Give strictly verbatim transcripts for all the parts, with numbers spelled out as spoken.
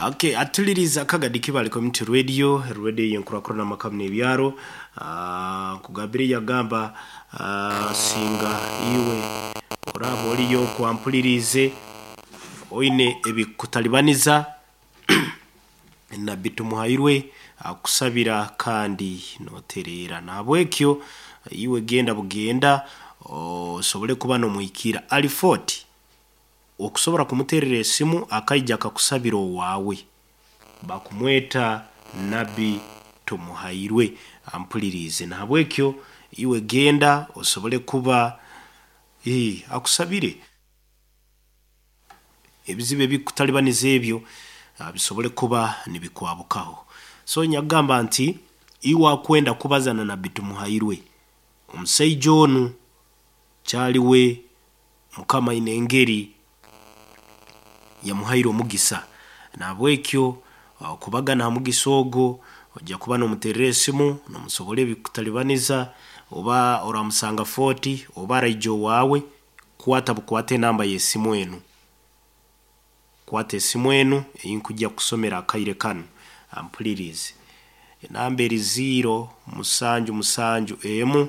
Okay, atuliriza Kagadi Kibale Community Radio, radio yenkurakurana makamu n'ebyaro. Ah, nkugambire yagamba ah, singa iwe oraba oliyo kwampulirize oine ebikutalibaniza, Nabbi Tumuhairwe akusabira kandi notereera. Nahabwekyo iwe genda bugenda osobole kuba nomuhikira alifoti okusobora kumuterera esimu akaija akakusabira owaawe. Bakumweta Nabbi Tumuhairwe, ampulirize. Nahabwekyo iwe genda osobole kuba eh, akusabire ebizibu ebikutalibaniza ebyo ah, bisobole kuba nibikwabukaho. So nyagamba nti iwe akwenda kubaza na Nabbi Tumuhairwe, omusaija onu kyaliwe Mukama aine engeri yamuhaire omugisa. Nahabwekyo ah, kubagana ha mugisa ogo ojja kuba nomuterera esimu nomusobora ebikutalibaniza, oba oramusanga Fort oba araija owaawe. Kwata bukwate enamba y'esimu enu, kwata esimu enu einkujja kusomera akaire kanu, ampulirize. Enamba eri ziro musanju musanju emu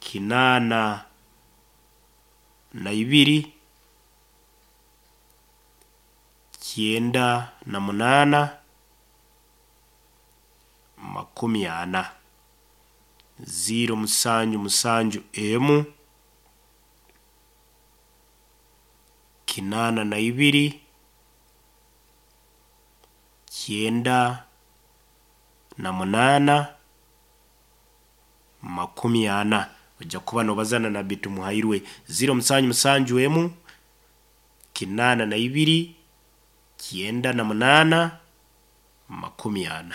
kinaana na ibiri kyenda na munaana makumi ana, ziro musanju musanju emu kinaana na ibiri kyenda na munaana makumi ana. Ojja kuba nobaza na Nabbi Tumuhairwe, ziro musanju musanju emu kinaana na ibiri kyenda na munaana makumi ana.